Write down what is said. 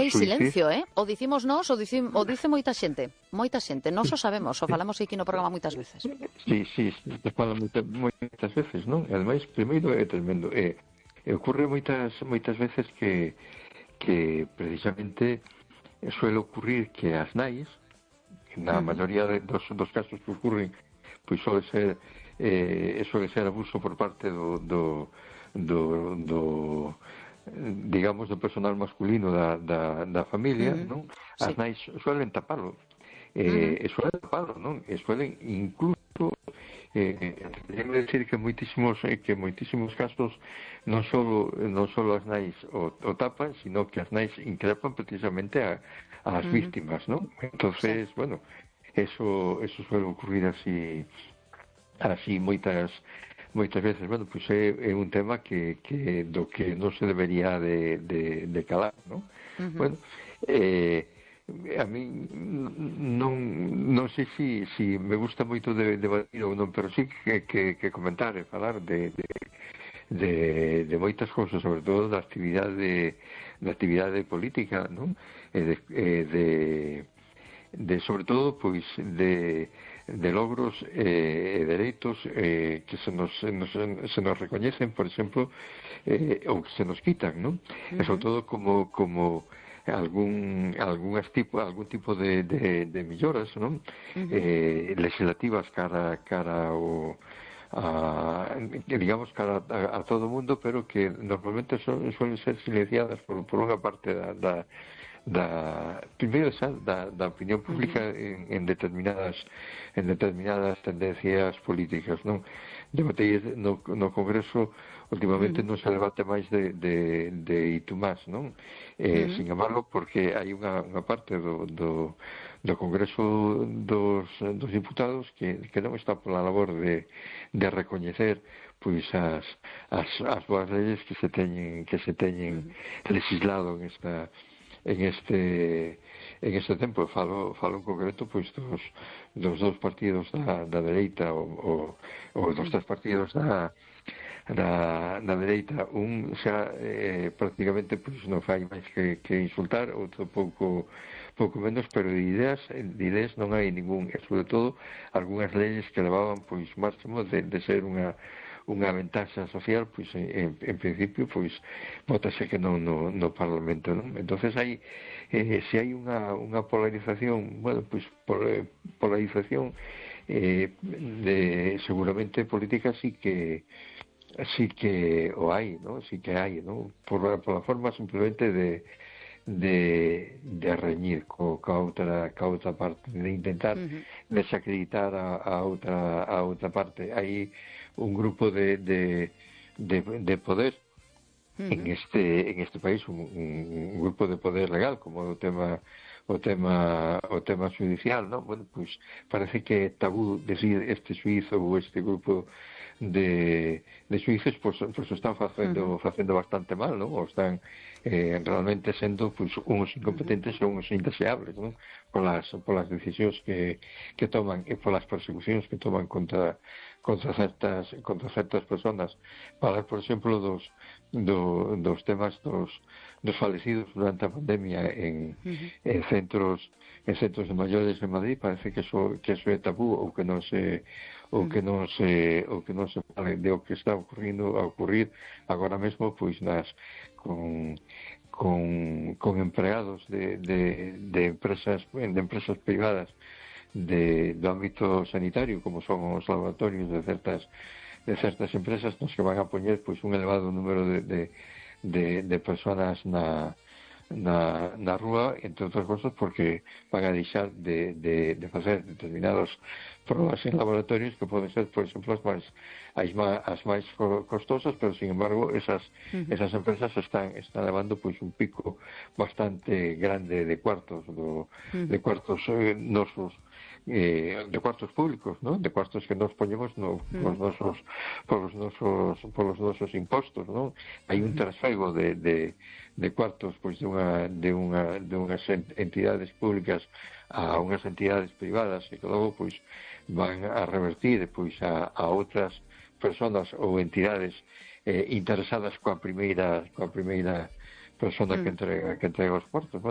hai silencio, o dicimos nós, o dice moita xente, nós o sabemos, o falamos aquí no programa moitas veces. Sí, te falo moitas veces, non? E ademais, primeiro é tremendo, ocurre moitas veces que precisamente suele ocurrir que as nais, na maioría dos casos que ocurren, pois suele ser abuso por parte do digamos do personal masculino da familia, non? As nais suelen tapalo, non? E suelen incluso déjame decir que moitísimos casos non solo as nais o tapan, sino que as nais increpan precisamente ás víctimas, non? Entonces, bueno, eso suele ocurrir así moitas veces. Bueno, pois é un tema que do que non se debería de calar, non? Bueno, a mí non sei si me gusta moito debatir ou non, pero sí que comentar e falar de moitas cousas, sobre todo da actividade política, non? Sobre todo, pois, de logros e dereitos que se nos recoñecen, por exemplo, ou que se nos quitan, non? E sobre todo como algún tipo de melloras, non? Legislativas cara digamos cara a todo o mundo, pero que normalmente suelen ser silenciadas por unha parte primeiro da opinión pública en determinadas tendencias políticas, non? Debatei no Congreso, últimamente non se debate máis de Itumás, non? Sin embargo, porque hai unha parte do Congreso dos Diputados que non está pola labor de recoñecer pois as boas leyes que se teñen legislado en este tempo. Falo en concreto pois dos dous partidos da dereita ou dos tres partidos da dereita. Un xa prácticamente pois non fai máis que insultar, outro pouco menos, pero de ideas non hai ningún, e sobre todo algunhas leyes que levaban pois máximo de ser unha ventaxa social, pois en principio pois votase que non no Parlamento, non? Entonces hai se hai unha polarización, bueno, pois polarización seguramente política sí que o hai, non? Sí que hai, non? Por la forma simplemente de reñir ca outra parte, de intentar desacreditar a outra parte. Hai un grupo de poder en este país, un grupo de poder legal, como o tema judicial, non? Bueno, pois parece que é tabú decir este suízo ou este grupo de suíces, pois están facendo bastante mal, non? Ou están realmente sendo pois uns incompetentes ou uns indeseables, non? Polas decisións que toman e polas persecucións que toman contra certas personas. Falar, por exemplo, dos temas dos falecidos durante a pandemia en centros de maiores en Madrid, parece que eso é tabú, ou que non se fale de o que está a ocurrir agora mesmo, pois con empregados de empresas privadas do ámbito sanitario, como son os laboratorios de certas empresas, nos que van a poñer pois un elevado número de personas na rúa, entre outras cosas porque van a deixar de facer determinados probas en laboratorios que poden ser, por exemplo, as máis costosas, pero sin embargo esas empresas están levando pois un pico bastante grande de cuartos nosos, de cuartos públicos, ¿no? De cuartos que nos poñemos polos nosos impostos, ¿no? Hai un trasfego de cuartos pois de unhas entidades públicas a unhas entidades privadas e que logo pois van a revertir pois a outras personas ou entidades interesadas coa primeira persona que entrega os cuartos. Bueno,